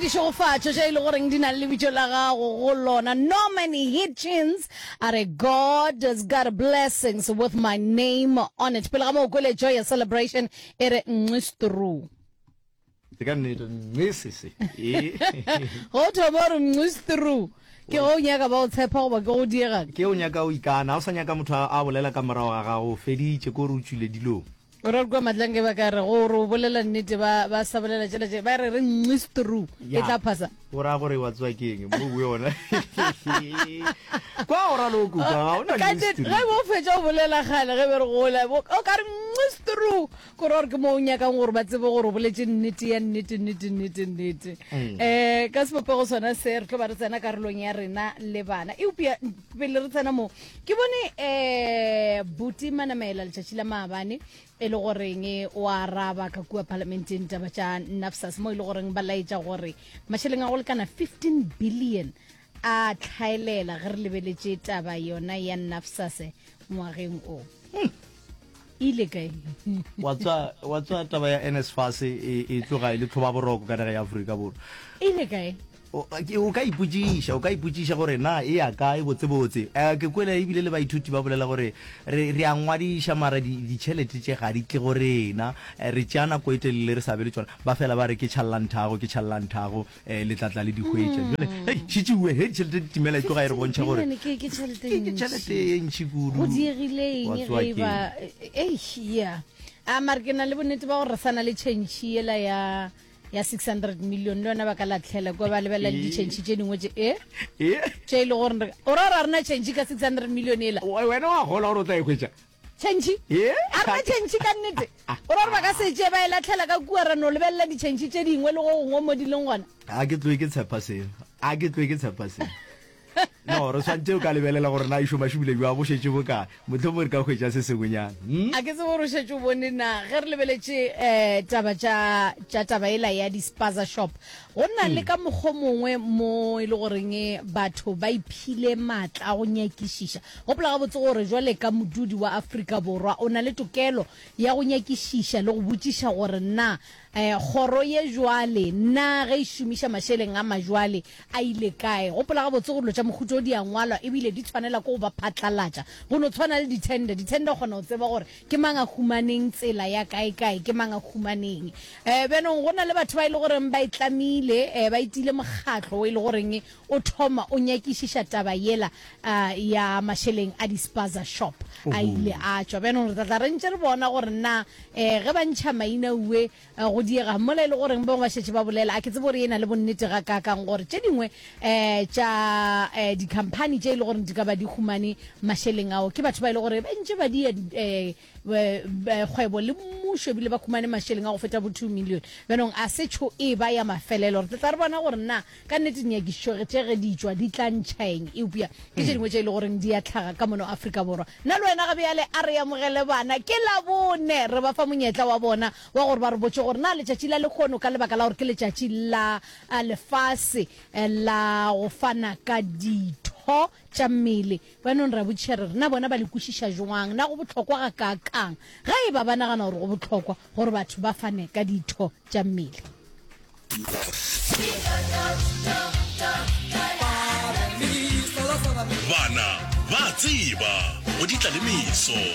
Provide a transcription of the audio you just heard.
ditšhegofatšo tše e le goreng di na le lebitso la gago go lona. Norman Hitchens a re God has got blessings with my name on it. Pele ga moo kwele Joy ya Celebration e re nxistru. Ke ka nnete nxisisi. Go thoma gore nxistru ke go nyaka ba o tshepa goba ke go diega. Ke o nyaka o ikana, o sa nyaka motho a bolela ka morago ga gago, o feditše ko re o tšwile dilong. O ra kua Matlange ba ka re gore o bolela nnete ba ba sa bolela tšela tše ba re re nxistru e tla phasa. O ra gore wa tswa keng mo o yona. Kwa o ra lo kuka ga ona nxistru. Ge bo fetša o bolela kgale ge be re gola o ka re nxistru ko ra gore ke mo o nyakang gore ba tsebe gore o boletše nnete ya nnete nnete nnete nnete. Um ka sebopego sona se re tlo ba re tsena karolong ya rena le bana eupša pele re tsena mo Ke bone um Buti Manamela letšatši la maabane e le goreng o araba ka kua palamenteng taba tša NAFSAS mo e le goreng ba laetša gore mašeleng a go lekana 15 billion a tlhaelela ge re lebeletše taba yona ya NAFSAS ngwageng o. Hmm. Ile kae? Wa tswa wa tswa taba ya NSFAS e e tloga e le tlhoba boroko ka naga ya Afrika Borwa. Ile kae? O ka ipotšiša, o ka ipotšiša gore na e ya kae botsebotse. Um ke kwele ebile le baithuti ba bolela gore re re a ngwadiša mara ditšhelete tše ga di tle go rena. Re tšea nako e telele re sa be le tšona. Ba fela ba re ke tšhallanthago, ke tšhallanthago, um le tla tla le di hwetša. Jwale hei šetše ue he ditšhelete di timela e tloga e re bontšha gore ke tšhelete e ntši kudu. Go diegile eng ge e ba eish yeah. A mara ke na le bonnete ba gore re sa na le tšhentšhi yela ya ya 600 million le yona ba ka latlhela kwa ba lebelela le ditšhentšhi tše dingwe tše e tše e le gore o ra gore a rena tšhentšhi ka 600 million ela wena wa gola gore o tla e hwetša tšhentšhi a rena tšhentšhi ka nnete o ra gore ba ka se tše ba e latlhela ka kua ra no lebelela ditšhentšhi tše dingwe le go gongwe mo di leng gona a ke tloe ke tshepa seo a ke tloe ke tshepa seo No, re swantše o ka lebelela gore na e šoma šomile bjang, bo šetše bokae. Mohlomongwe re ka hwetša se sengwenyana. Hmm? A ke tsebe gore o šetše o bone na ge re lebeletše um taba tša tša taba ela ya di-spaza shop go na le ka mokgwa mongwe mo e le goreng batho ba iphile maatla a go nyakišiša. Gopola gabotse gore jwale ka modudi wa Afrika Borwa o na le tokelo ya go nyakišiša le go botšiša gore na Eh, kgoro ye jwale, na ge e šomiša mašeleng a majwale a ile kae? Gopola gabotse gore dilo tša mohuta o di a ngwalwa ebile di tshwanela ke go ba phatlalatša. Go no tshwana le di-tender. Di-tender o kgona go tseba gore ke mang a humaneng tsela ya kae-kae, ke mang a humaneng. Eh, bjanong go na le batho ba e le goreng ba e tlamile, eh, ba itile mokgatlo o e le goreng o thoma o nyakišiša taba yela uh, ya mašeleng a di-spaza shop a ile a tšwa. Bjanong re tla tla re ntše re bona gore na Eh, ge ba ntšha maina ue eh, go diega mola e le goreng bangwe ba šetše ba bolela, a ke tsebe gore e na le bonnete gakaakang gore tše dingwe eh, tša eh, dikhamphani tše e le goreng di ka ba di humane mašeleng ao ke batho ba e le gore ba ntše ba dia eh, kgwebo le mmušo ebile ba humane mašeleng a go feta bo 2 million. Bjanong a se tšho e ba ya mafelelo, re tla tla re bona gore na Ka nnete dinyakišišo tše ge di tšwa di tla ntšha eng, eupša ke tše dingwe tše e le goreng di a hlaga ka mono Afrika Borwa. Nna le wena ga bjale a re amogele bana, ke Labone, re ba fa monyetla wa bona wa gore ba re botše gore na letšatši la lehono ka lebaka la gore ke letšatši la lefase la go fana ka ditho tša mmele, bjanong re a botšiša re re na bona ba le kwešiša jwang, na go bohlokwa gakaakang ge e ba ba nagana gore go bohlokwa gore batho ba fane ka ditho tša mmele. Bana ba tseba go di tla le meso.